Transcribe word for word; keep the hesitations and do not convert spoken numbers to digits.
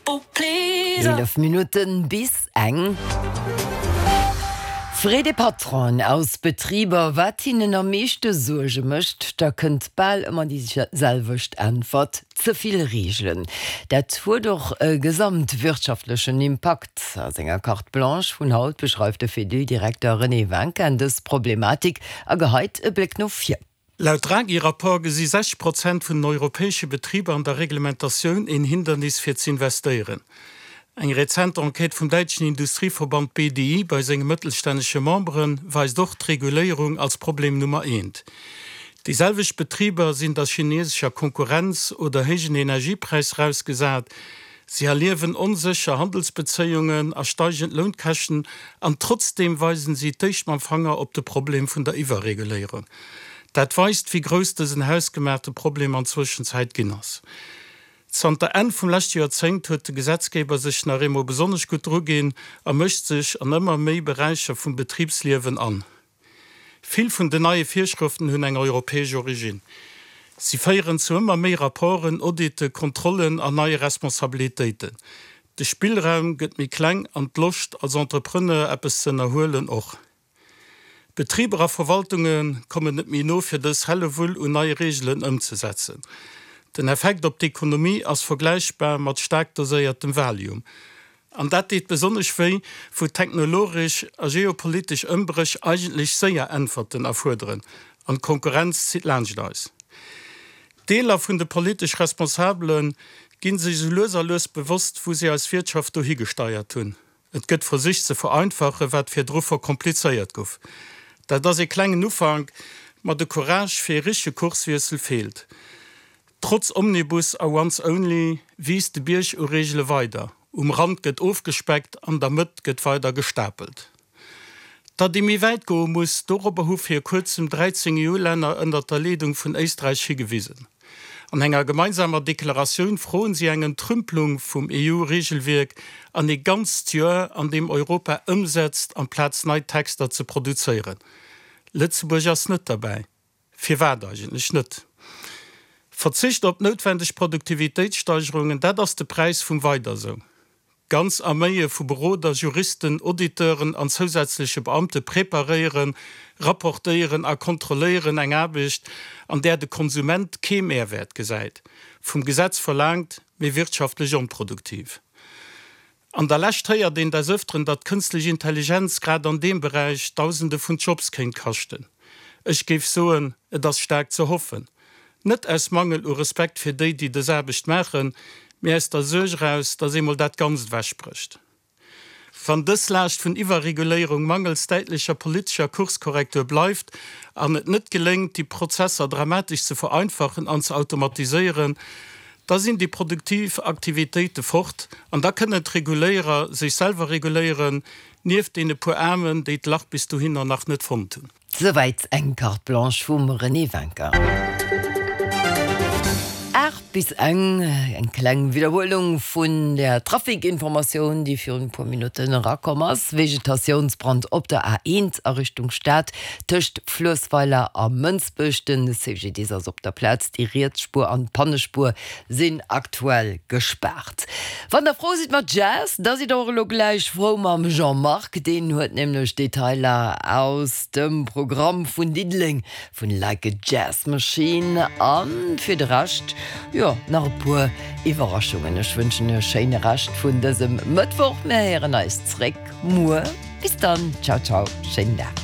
Eelef Minutten bis eng. Freet ee Patronen aus Betriber, wat hinnen am meeschte Suerge mécht, da kënnt bal ëmmer déi selwecht Äntwert, Ze vill Reegelen. Dat huet och e gesamtwirtschaftlechen Impakt. A senger Carte Blanche vun haut beschreift de Fedil-Direkter René Winkin dës Problematik a geheit e Bléck no vir. Laut Draghi-Rapport gesi sechzeg Prozent vun den europäesche Betriber an der Reglementatioun een Hindernis fir z'investéieren. Eng rezent Enquête vum däitschen Industrieverband B D I bei senge mëttelstännege Membere weist och d'Reguléierung als Problem Nummer eent. Déi selwecht Betriber sinn der chinesescher Konkurrenz oder héijen Energiepräisser ausgesat. Si erliewen onsécher Handelsbezéiungen a steigend Lounkäschten an trotzdeem weisen si d'éischt mam Fanger op de Problem vun der Iwwerreguléierung. Dat weist, wéi grouss dësen hausgemaachte Problem an Zwëschenzäit ginn ass. Zanter Enn vum leschte Joerzéngt huet de Gesetzgeber sech nach eemol besonnesch gutt druginn a mëscht sech an ëmmer méi Beräicher vum Betribsliewen an. Vill vun den neie Virschrëften hunn eng europäesch Originn. Si féieren zu ëmmer méi Rapporten, Audite, Kontrollen an neie Responsabilitéiten. De Spillraum gëtt méi kleng an d'Loscht, als Entrepreneur eppes ze ënnerhuelen, och. Betriber a Verwaltunge kommen net méi no, fir dës Hellewull un neie Reegelen ëmzesetzen. Den Effekt op d'Ekonomie ass vergläichbar mat staark doséiertem Valium. An dat deet besonnesch wéi, wou technologesch a geopolitesch Ëmbréch eigentlech séier Äntwerten erfuerderen an d'Konkurrenz zitt laanscht eis. Deeler vun de politesch Responsabele gi sech esou lues a lues bewosst, wou si eis Wirtschaft dohi gesteiert hunn. Et gëtt versicht ze vereinfachen, wat virdru verkomplizéiert gouf. Dat ass ee klengen Ufank, ma de Courage fir ee richtege Kurswiessel feelt. Trotz Omnibus a Once Only wiisst de Bierg u Reegele weider. Um Rand gëtt ofgespeckt, an der Mëtt gëtt weider gestapelt. Datt ee méi wäit goe muss, dorobber hu vir kuerzem dräizéng E U-Länner ënnert der Leedung vun Éisträich higewisen. An enger gemeinsamer Deklaratioun froen si eng Entrümpelung vum E U-Reegelwierk an ee ganzt Joer, an deem Europa ëmsetzt, amplaz nei Texter ze produzéieren. Lëtzebuerg ass net derbäi. Firwat eigentlech net? Verzicht op noutwendeg Produktivitéitssteigerungen, dat ass de Präis vum Weider sou. Ganz Arméie vu Beroder, Juristen, Auditeuren an zousätzleche Beamte preparéieren, rapportéieren a kontrolléieren eng Aarbecht, an där de Konsument kee Mehrwäert gesäit, vum Gesetz verlaangt, mee wirtschaftlech onproduktiv. An der Lescht héiert een des Ëfteren, datt d'kënstlech Intelligenz grad an deem Beräich Dausende vun Jobs kéint kaschten. Ech géif soen, et ass staark ze hoffen. Net aus Mangel u Respekt fir déi, déi dës Aarbecht maachen, mee aus der Suerg eraus, datt eemol dat Ganzt ewechbrécht. Wann dës Laascht vun Iwwerreguléierung mangels däitlecher politescher Kurskorrektur bleift an et net geléngt, déi Prozesser dramatesch ze vereinfachen an ze automatiséieren, da sinn déi produktiv Aktivitéite fort an da kënnen d'Reguléierer sech selwer reguléieren, nieft deene puer Aarmen, déi d'Lach bis dohinner nach net fonnt hunn. Souwäit eng Carte Blanche vum René Wincker. Aacht bis eng, eng kleng Widderhuelung vun der Trafikinformatioun, déi virun e puer Minutten erakomm ass, Vegetatiounsbrand op der A eent a Richtung Stad tëscht Fluessweiler a Mënsbech. Den C G D S ass op der Plaz, déi riets Spuer an d'Pannespuer sinn aktuell gespaart. Wann der frou sidd mat Jazz, da sidd der och elo gläich frou mam Jean-Marc. Deen huet nämlech Detailer aus dem Programm vun Diddeleng vun Like a Jazz Machine. An fir de Rescht, jo, nach e puer Iwwerraschungen. Ech wënschen e schéine Rescht vun dësem Mëttwoch. Mir héieren eis zréck muer. Bis dann, ciao ciao, schéinen Dag.